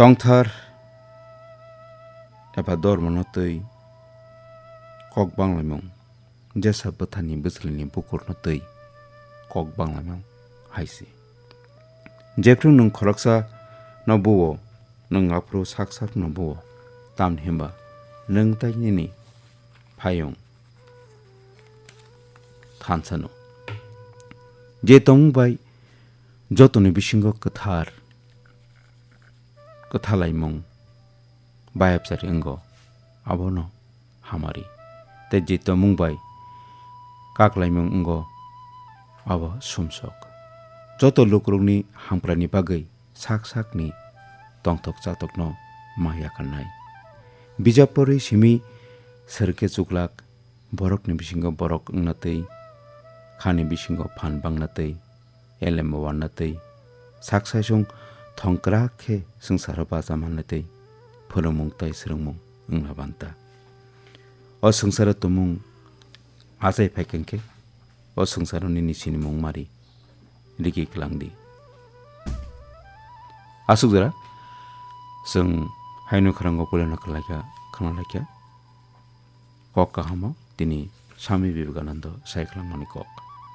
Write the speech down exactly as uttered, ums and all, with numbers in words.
Tongthar eba dormono twi kok banglaimung, jesa bwthani bwswlwini bukurno twi kok banglaimung hai se. Jephru nwng khoroksa no buo, nwng aphuru sak sak no buo, tamni hwnba nwng tai nini phayung thansa no. Je tongmung bai jotoni bisingo kwthar, kwthalaimung bayapchari wngo, abono hamari. Tei je tongmung bai kaklaimung wngo, abo sumsok. Joto lukurokni hamkraini bagwi sak sakni tongthok chatokno ma yakarnai. Bijap porwi simi serke chuklak, borokni bisingo borok wngna twi, khani bisingo phan bangna twi, elem wanna twi, sak saisung thongkrak khe swngcharo bacha manna twi, phwrwngmung tei swrwngmung wngna banta. O swngcharo tumung achai phaikha khe, o swngcharo nini sinimung mari rigi kwlangdi. Aswk jora chwng haino khwrango puilano khwlaikha, khwnalaikha. Kok kahamo tini Swami Vivekananda sai khwlangmani kok.